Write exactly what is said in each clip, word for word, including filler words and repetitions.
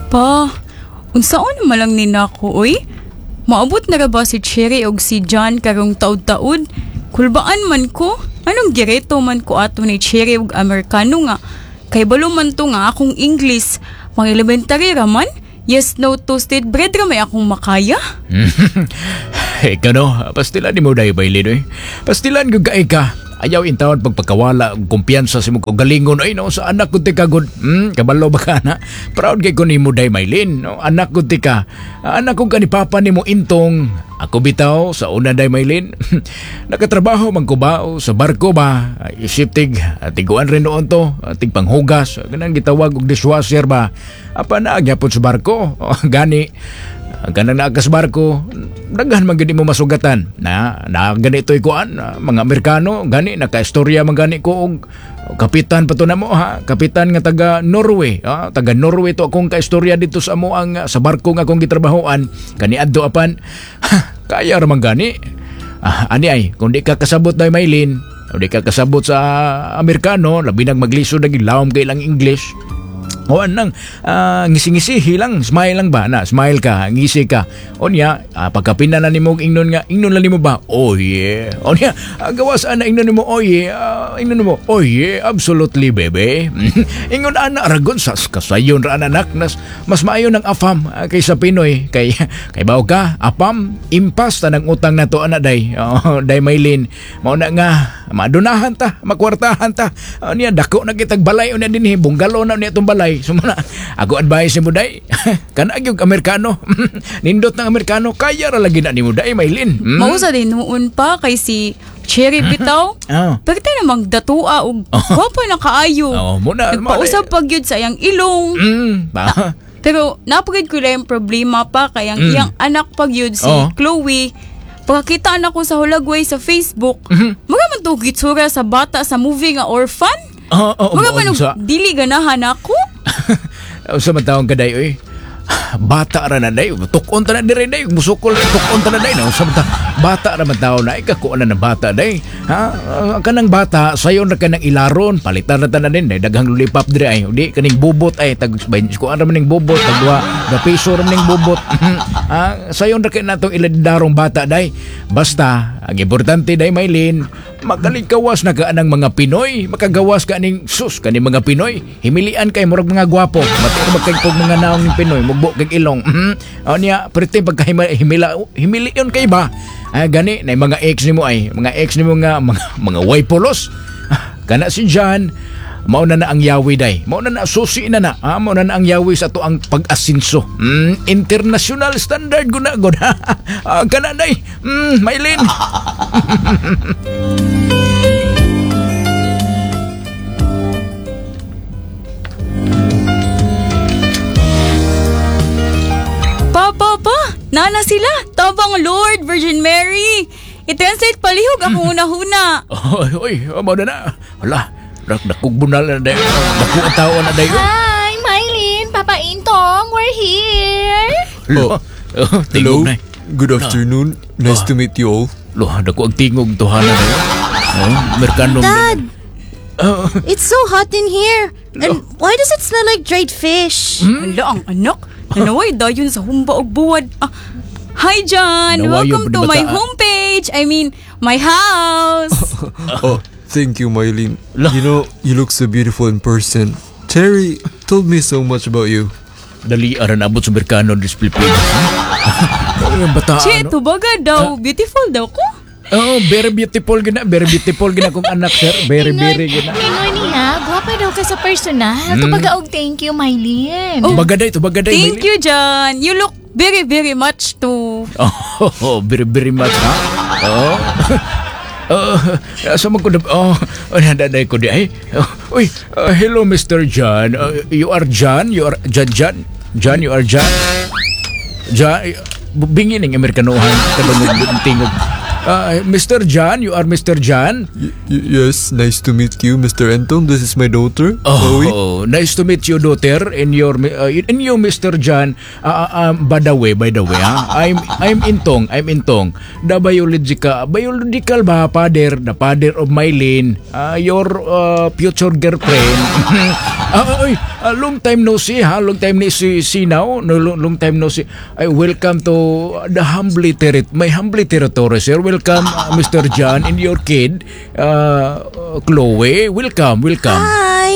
Pa, unsaon man lang ni nako, oy? Maabot na ra ba si Cherry og si John karong taud-taud? Kulbaan man ko. Anong gireto man ko ato ni Cherry og Amerikano nga? Kay balo man to nga akong English. Pang elementary ra man. Yes, no toasted bread ra may akong makaya. Ikaw no, pastilan ni mo dahil bailin oy. Pastilan ko kay ka. Ayaw intawon pagpakawala og kumpiyansa sa imong kaugalingon ay no sa anak ko tika gud. Hmm, kabalo ba ka na? Proud kay ko nimo day Maylin. No, anak ko tika. Anak ko ka ni papa nimo Intong. Ako bitaw sa una day Maylin. Nakatrabaho man ko ba o sa barko ba? Isip tig tiguan rin noon to, tig panghugas, ganang gitawag og dishwasher ba. Apa na gyapon sa barko. Gani ang kanang naa ka sa barko, daghan man gid mo masugatan. Na, na ganito ikuan, mga Amerikano, gani nakaistorya man gani ko og kapitan pa to na mo ha, kapitan nga taga Norway, ha, taga Norway to akong kaistorya dito sa amo ang sa barko nga akong gitrabahoan, kaniadto apan kaya ra man gani. Ah, ani ay, kung di ka kasabot day Maylin, kung di ka kasabot sa Amerikano, labi nang maglisod naging lawom kay lang English. O anang uh, ngisi-ngisi lang, smile lang ba na, smile ka, ngisi ka. O niya, uh, pagkapina na nimo ingnon nga, ingnon lang nimo ba? Oh yeah. O niya, uh, gawas ana ingnon nimo, oh yeah, uh, ingnon nimo, oh yeah, absolutely bebe. Ingon ana ragon sa kasayon ra anak nas mas maayo ng afam uh, kaysa Pinoy kay kay bawo ka, afam impas ta ng utang nato ana day. Oh, day Maylin. Mao na nga madunahan ta, makwartahan ta. O niya dako na kitag balay unya dinhi, bungalow na niya itong balay. So muna, ako advice nimo day. Kana gyud Amerikano. Nindot ng Amerikano kaya ra lagi na nimo day Maylin. Mm. Mausa din noon pa kay si Cherry bitaw. Oh. Pwede namang datua og gwapa na kaayo. Oh, muna, Nagpausab pag yun sa iyang ilong. Mm, ba? Pero napagid ko lang yung problema pa kay ang Mm. iyang anak pag yun si Oh. Chloe. Pagkakita na ko sa Hulagway sa Facebook, Mhm. mga man to gitsura sa bata sa movie nga Orphan. Oo, oh, oh, Mga man sa dili ganahan ako. Sa man taong kaday oy. Bata ra na day, tukon ta na dire day, musukol tukon ta na day no. Sa man ta- bata ra man taon na ikakuan na ng bata day. Ha? Ah, kanang bata sayon ra kanang ilaron, palitan ra ta na din day daghang lollipop dire ay. Di kaning bubot ay tag kuan ra man ning bubot tag duha, da piso ra man ning bubot. Ha, sayon ra kay natong iladarong bata day. Basta ang importante day Maylin, makalikawas na ka anang mga Pinoy, makagawas ka aning sus kaning mga Pinoy. Himilian kay murag mga gwapo, mati ra kay kog mga naong ning Pinoy, mugbo kag ilong. Mhm. O niya, perti pagka himila himilion kay ba? Ay gani na mga ex nimo ay, mga ex nimo nga mga mga way polos. Ah, Kana si John, mao na na ang yawi day. Mao na na susi na na. Ah, mao na na ang yawi sa ato ang pag-asinso. Mm, international standard guna gud. ah, kana day. Mm, Maylin. Pa, pa, pa! Nana sila! Tabang Lord, Virgin Mary! I-translate palihog akong una-huna. Oy, oy, mao na na. Hala, dak dakog bunal na day. Dako ang tao na day. Hi, Mylene, Papa Intong, we're here. Lo, oh, tingog Hello. na. Good afternoon. Nice to meet you all. Lo, dako ang tingog tuhanan na yun. Oh, Amerikano. Dad! It's so hot in here. And why does it smell like dried fish? Ala, ang anak. Nanaway dayon sa humba og buwad. Ah, hi, John! Nawayo Welcome pa to ni my bata. homepage! I mean, my house! Oh, thank you, Mylene. La. You know, you look so beautiful in person. Terry told me so much about you. Dali aran abot sa Amerikano dis Pilipinas. Oh, yung bata. Che, ano? tubaga daw. Beautiful daw ko. Oh, very beautiful gina, very beautiful gina akong anak sir. Very very gina. Ingon niya, gwapa daw ka sa personal. Mm. Tubaga og thank you, Mylene. Oh, Bagaday to bagaday. Thank you, John. You look very, very much to... Oh, very very much ha. Oh. Oh, asa man ko na, oh, oh, nadaday ko di ay. Oh, uy, uh, hello Mister John. Uh, you are John? You are John John? John, you are John? John, bingi ning Amerikanohan kadungog tingog. Uh, Mister John, you are Mister John? Y- y- yes, nice to meet you, Mister Anton. This is my daughter, Oh, Chloe. nice to meet you, daughter. And your, uh, and you, Mister John. Uh, uh, um, by the way, by the way, ah, I'm I'm Intong, I'm Intong. The biological, biological ba, father, the father of Mylene, uh, your uh, future girlfriend. Ah, oy, Uh, long time no see, ha? Long time no see, see now. No, long, long time no see. Ay, welcome to the humbly territ my humbly territory, sir. Welcome, uh, Mr. John and your kid, uh, Chloe. Welcome, welcome. Hi.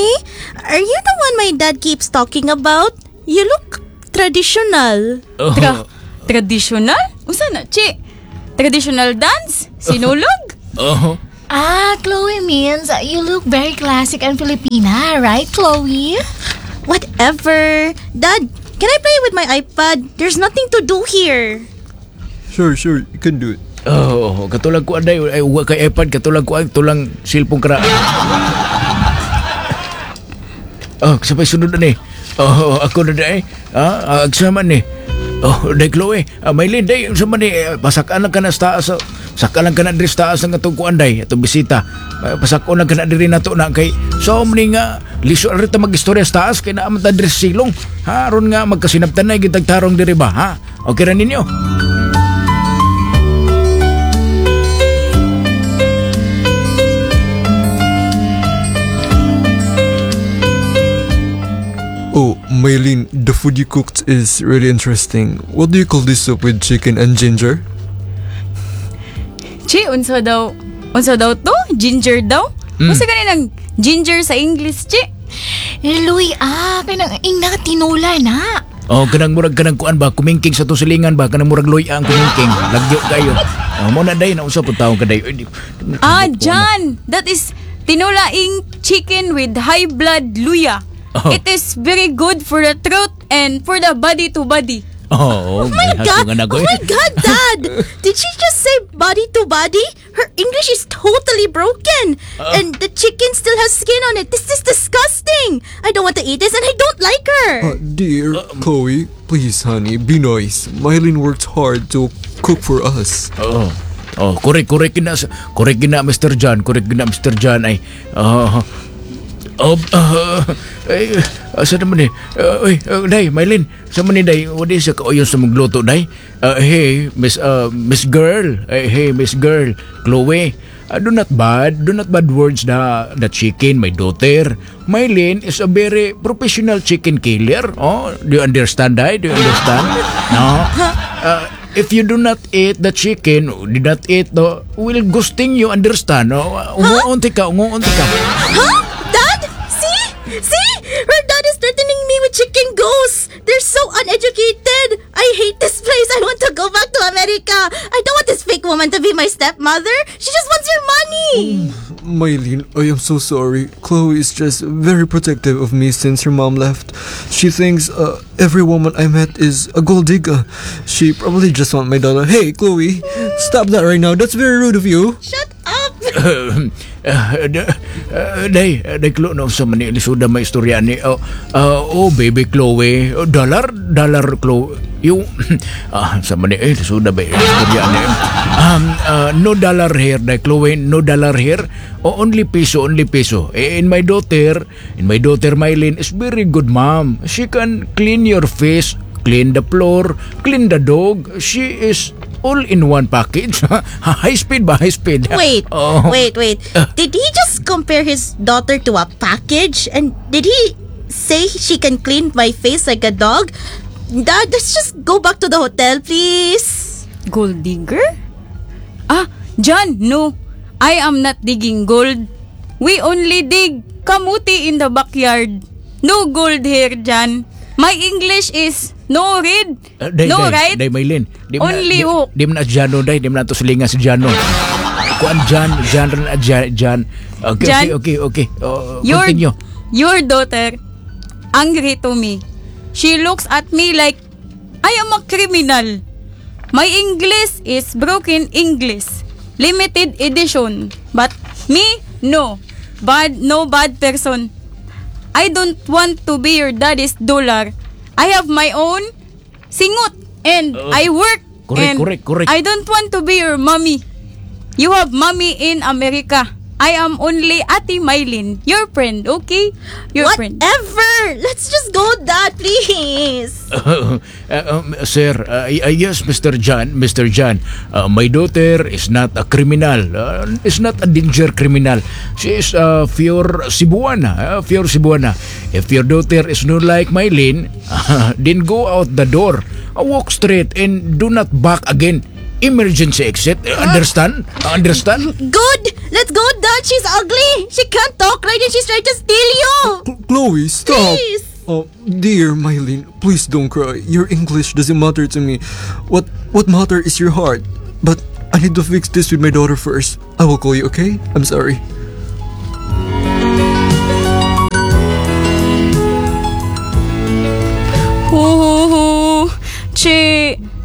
Are you the one my dad keeps talking about? You look traditional. Oh. Tra traditional? Unsa na, Chi? Traditional dance? Sinulog? Oh. Ah, Chloe means you look very classic and Filipina, right, Chloe? Whatever. Dad, can I play with my iPad? There's nothing to do here. Sure, sure, you can do it. Oh, katulag ko anday ay wa kay iPad katulag ko ang tulang cellphone kara. Oh, sabay sunod na ni. Oh, ako na day. Ah, agsama ni. Oh, day Chloe, ah, Maylin, day unsa man ni eh, pasakaan lang ka na sa taas. Saka lang ka na diri sa taas ang atong kuan day, atong bisita. Ah, Pasakon lang ka na diri nato na kay so mani nga liso ra ta magistorya sa taas kay naa man ta diri sa silong. Ha, aron nga magkasinabtan na gitag tarong diri ba, ha? Okay ra ninyo? Oh, Maylene, the food you cooked is really interesting. What do you call this soup with chicken and ginger? Chi, unsa daw? Unsa daw to? Ginger daw? Mm. Unsa gani nang ginger sa English, Chi? Luy, ah, kanang ingna tinula na. Oh, kanang murag kanang kuan ba kumingking sa tusilingan ba kanang murag luya ang kumingking. Lagyo kayo. Oh, mo na day na unsa pud taong kaday. Ay, di- di- Ah, John! That is tinulaing chicken with high blood luya. Oh. It is very good for the throat and for the body to body. Oh, Oh my god! Oh my god, Dad! Did she just say body to body? Her English is totally broken. and the chicken still has skin on it. This is disgusting. I don't want to eat this and I don't like her. Uh, dear Chloe, please, honey, be nice. Mylene worked hard to cook for us. Oh. Oh, correct, correct na, correct na Mr. John, correct na Mr. John ay. Oh. Oh, uh, ay, asa naman eh? Uh, uy, uh, day, Mylene, sa man ni day, wala siya kauyon sa magluto, day. Uh, hey, Miss, uh, Miss Girl, hey, hey, Miss Girl, Chloe, uh, do not bad, do not bad words na the chicken, my daughter. Mylene is a very professional chicken killer. Oh, do you understand, day? Do you understand? No? Uh, if you do not eat the chicken, do not eat the, will ghosting you, understand? No? Unguunti ka, unguunti ka. Huh? Dad? See? See? Her dad is threatening me with chicken ghosts. They're so uneducated. I hate this place. I want to go back to America. I don't want this fake woman to be my stepmother. She just wants your money. Mylene, I am so sorry. Chloe is just very protective of me since her mom left. She thinks uh, every woman I met is a gold digger. She probably just want my dollar. Hey, Chloe, stop that right now. That's very rude of you. Shut up. Uh, uh, day, day Chloe, no, sa mani, lisuda may istorya ni, oh, uh, oh, baby Chloe, oh, dollar, dollar Chloe, yung, ah, sa mani, eh, lisuda ba, istorya ni, um, uh, no dollar here, day Chloe, no dollar here, oh, only peso, only peso. Eh, in my daughter, in my daughter Mylene is very good mom. She can clean your face, clean the floor, clean the dog. She is all in one package. high speed ba? High speed. Wait, Oh. wait, wait. Did he just compare his daughter to a package? And did he say she can clean my face like a dog? Dad, let's just go back to the hotel, please. Gold digger? Ah, John, no. I am not digging gold. We only dig kamuti in the backyard. No gold here, John. My English is no read, Uh, day, no day, right. Day, Maylin. Di mo na- Only di, hook. Di mo na Jano, day. Di mo na to silingan si Jano. Kuan Jan, Jan, rin, Jan, Jan. Okay, Jan. okay, okay, okay. Oh, Your, continue. your daughter angry to me. She looks at me like I am a criminal. My English is broken English. Limited edition. But me, no. Bad, no bad person. I don't want to be your daddy's dollar. I have my own singot and I work. Correct, and correct, correct. I don't want to be your mommy. You have mommy in America. I am only Ate Mylene, your friend, okay? Your friend. Whatever! Let's just go, Dad, please. Uh, um, sir, uh, uh, yes, Mr. John, Mr. John, uh, my daughter is not a criminal. Uh, is not a danger criminal. She is a pure Cebuana, uh, pure Cebuana. If your daughter is not like Mylene, uh, then go out the door, uh, walk straight and do not back again. Emergency exit. Uh, understand? Uh, understand? Good! Let's go, Dad. She's ugly. She can't talk right and she's trying to steal you. Cl- Chloe, stop! Please. Oh, dear Mylene, please don't cry. Your English doesn't matter to me. What what matter is your heart. But I need to fix this with my daughter first. I will call you, okay? I'm sorry. Hu hu hu. Che,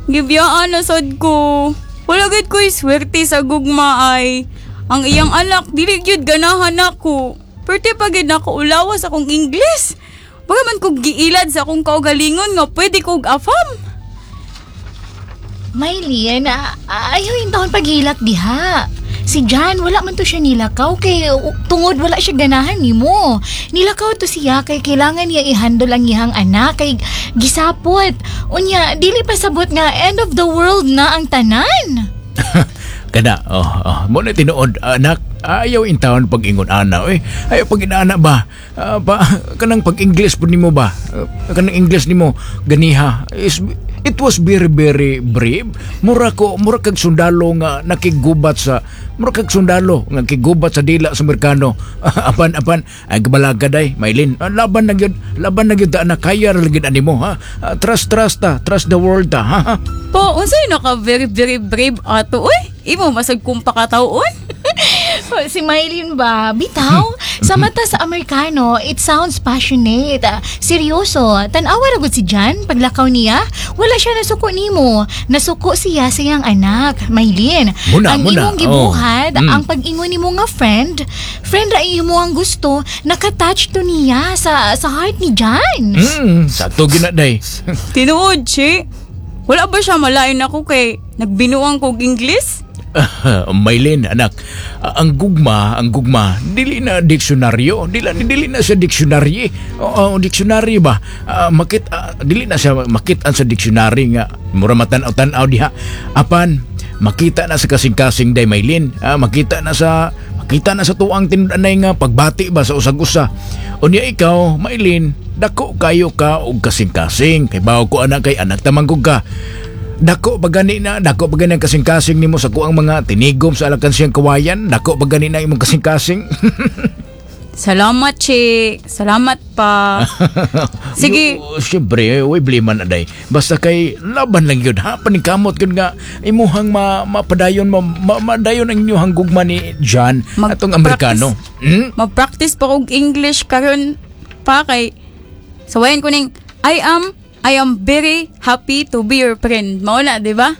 gibiyaan na sad ko. Wala gid ko'y swerte sa gugma ay. Ang iyang anak, dili gyud ganahan nako. Pwerte pa gid nako ulawas akong English. Baga man kog giilad sa akong kaugalingon nga pwede kog afam. Mylene, ah, ayaw yung taon paghilak diha. Si John, wala man to siya nilakaw kay uh, tungod wala siya ganahan nimo. Nilakaw to siya kay kailangan niya i-handle ang iyang anak kay gisapot. Unya, dili pa sabot nga end of the world na ang tanan. Kana, oh, oh, mo na tinuod, anak, ayaw in town pag ingon ana, eh. Ayaw pag inaana ba? Ah, pa, kanang pag English po nimo ba? Ah, kanang English nimo ganiha is it was very very brave. Mura ko mura kag sundalo nga nakigubat sa mura kag sundalo nga nakigubat sa dila sa Amerikano. apan apan ay gabalaga day, Maylin. Ah, laban na gyud, laban na gyud ta, anak kaya ra gyud animo ha. Ah, trust trust ta, trust the world ta ha. Po, unsay naka very very brave ato oy? Imo masag kong pakataon. Si Mylene ba? Bitaw, sa mata sa Amerikano, it sounds passionate. Ah, seryoso, tan-awa ra gud si John paglakaw niya. Wala siya nasuko nimo. Nasuko siya sa iyang anak, Mylene. Muna, ang muna. imong gibuhat, Oh. Mm. ang pag-ingon nimo nga friend, friend ra imo ang gusto, nakatouch to niya sa sa heart ni John. Mm, sakto gina day. Tinuod, che. Wala ba siya malain ako kay nagbinuang kog English? Maylin, anak, ah, ang gugma, ang gugma, dili na diksyonaryo, dili, dili na sa dictionary. Oo, dictionary ba? Ah, makit, ah, dili na siya makit-an sa dictionary nga mura matan-aw tan-aw diha. Apan makita na sa kasing-kasing day Maylin. Ah, makita na sa makita na sa tuang tinud-anay nga pagbati ba sa usag-usa. Unya ikaw, Maylin, dako kayo ka og kasing-kasing. Kay bawo ko anak kay anak tamanggog ka. Dako pa gani na, dako pa gani ang kasing-kasing nimo sa kuang mga tinigom sa alakansiyang kawayan, dako pa gani na imong kasing-kasing. Salamat, che. Salamat pa. Sige. Yo, Siyempre, uy, bliman aday. Basta kay laban lang yun, ha? Paningkamot yun nga, imuhang ma, mapadayon, ma, ma, madayon ang inyong gugma ni John, Mag- atong Amerikano. Hmm? Mag-practice pa kog English karon pa kay sawayan ko ning I am I am very happy to be your friend. Mao na, di ba?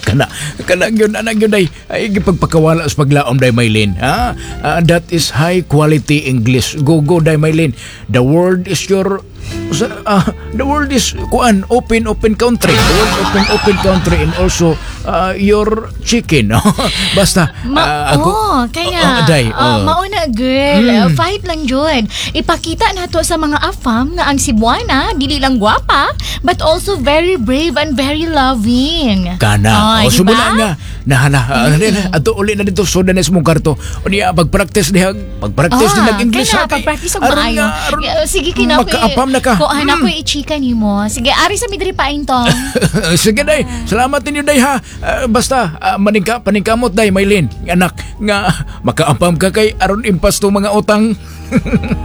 kana kana gyud ana gyud ay ay gipagpakawala sa paglaom day Maylin ha Ah, that is high quality English go go day Maylin the world is your sa- ah, the world is kuan open open country the world open open country and also ah, your chicken basta Ma ah, ako oh, kaya Oh, day, ah, oh. mauna girl, uh, fight lang jud. Ipakita nato sa mga afam nga ang Cebuana dili lang gwapa but also very brave and very loving. Kana. Ay, o di sumula ba? nga. Nahala. Mm. Ato uli na dito soda na sa mong karto. O niya pag-practice diha. Pag-practice Ah, din nag-English kana, ha, kay- pag-practice og aron maayo. nga, aron Eh, Sige kina ko. Makaapam na ka. Ko anak Mm. ko i-chika nimo. Sige, ari sa midri pa intong. Sige day, salamat ninyo day ha. Ah, basta ah, maningka paningkamot day Maylin, anak nga makaapam ka kay aron impas to mga utang.